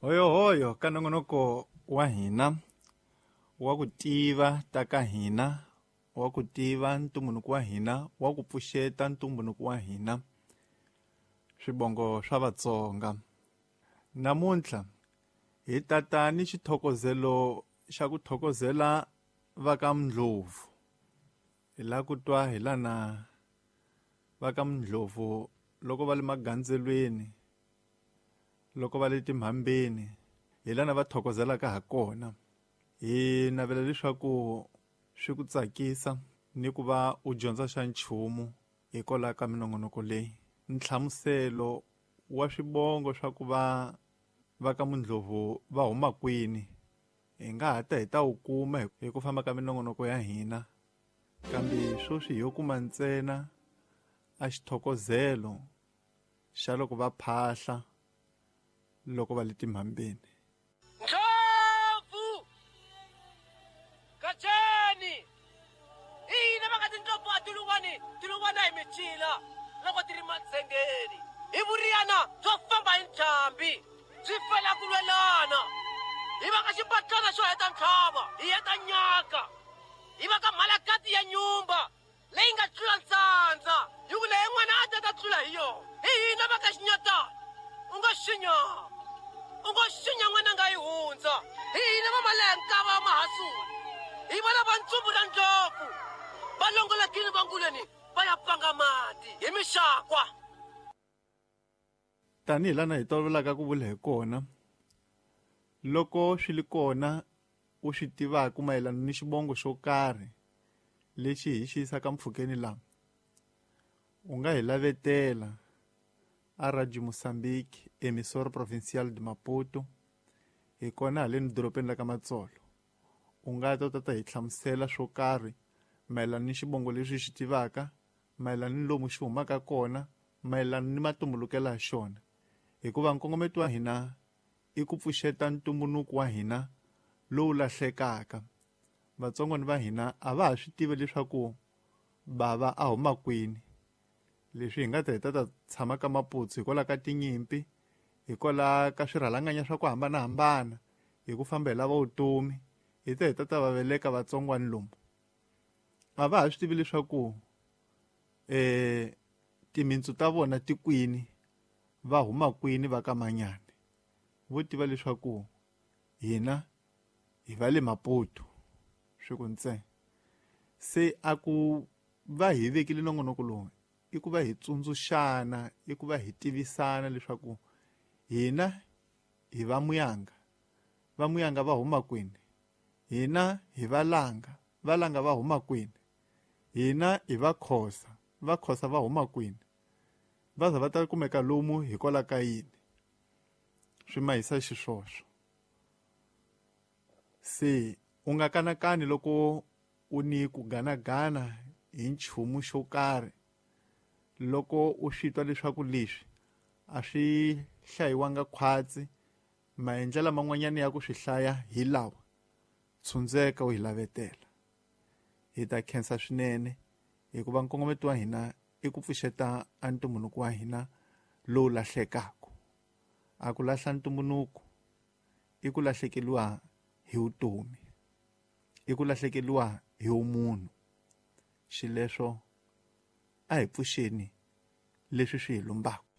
Hoyohoyo ka nongonoko wa hina wa ku tiva ta ka hina, wa ku tiva ntumbuluko wa hina, wa ku pfuxeta ntumbuluko wa hina, swivongo swa Vatsonga. Namuntlha hi tata ni xithokozelo xa ku thokozela va ka Ndlovu. Hi la ku twa hi lana va ka Ndlovu loko va le magandzelweni, loko va le timhambeni, hi lana va thokozelaka ha kona. Hi navela leswaku swi ku tsakisa ni ku va u dyondza xa nchumu hikwalaho ka minongonoko leyi. Nhlamuselo wa swivongo swa ku va va ka Mundlovu va huma kwini hi nga ha ta hi ta wu kuma hi ku famba ka minongonoko ya hina, kambe sweswi hi yo kuma ntsena a xithokozelo xa loko va phahla loko va le timhambeni. Ndlopfu! Gajeni! I yini va nga tindlopfu a tiluvani tiluvana hi micila loko ti ri madzengeni? Hi vuriyana byo famba hi ntlhambi byi fela ku lwelana. Hi va ka xibatlana xo heta ntlhava hi heta nyaka. Hi va ka mhalakati ya nyumba leyi nga tlula ntsandza hi ku leyi n'wana a ta ta tlula hi yona. Hi hina va ka xinyatana u ngo xinya u ngo xinya n'wana nga yi hundza. Hi hina va malenkava mahasula hi vona va ntsumbu ra ndlopfu va longolokile va nguleni va ya pfanga mati hi mixakwa. Tanihi lana hi tolovelaka ku vula hi kona, loko swi li kona u swi tivaka mayelana ni xivongo xo karhi lexi hi xi yisaka mpfhukeni laha, u nga hi lavetela a Radio Mozambique, Emissora Provincial de Maputo, hi kona haleni dorobeni la ka Matsolo. U nga ta u ta ta hi hlamusela swo karhi mayelana ni xivongo lexi u xi tivaka, mayelana ni lomu xi humaka kona, mayelana ni matumbulukelo ya xona. Hikuva nkongometo wa hina i ku pfuxeta ntumbuluko wa hina lowu lahlekaka. Vatsongwana va hina a va ha swi tivi leswaku bava a huma kwini. Leswi hi nga ta hi ta ta tshama ka Maputsu hikwalaho ka tinyimpi, hikwalaho ka swirhalanganya swa ku hambanahambana, hi ku famba hi lava vutomi, hi ta hi ta ta va veleka vatsongwana lomu. A va ha swi tivi leswaku timintsu ta vona ti kwini, va huma kwini va ka Manyane. Vo tiva leswaku hina hi va le Maputo swi ku ntsena. Se a ku va hi vekile nongonoko lowu i ku va hi tsundzuxana, i ku va hi tivisana leswaku hina hi va Muyanga, va Muyanga va huma kwini, hina hi va Langa, va Langa va huma kwini, hina hi va Khosa, va Khosa va huma kwini, va za va ta kumeka lomu hikwalaho ka yini. Swi mahisa xiswoswo. Se u nga kanakani loko u ni ku ganagana hi nchumu xo karhi, loko u swi twa leswaku leswi a swi hlayiwanga khwatsi, maendlelo man'wanyana ya ku swi hlaya hi lawa, tshundzeka u hi lavetela. Hi ta khensa swinene hikuva nkongometo wa hina i ku pfuxeta a ntumbuluko wa hina lowu lahlekaka. A ku lahla ntumbuluko i ku lahlekeriwa hi vutomi, i ku lahlekeriwa hi vumunhu. Xileswo a hi pfuxeni leswi swi hi lumbaka.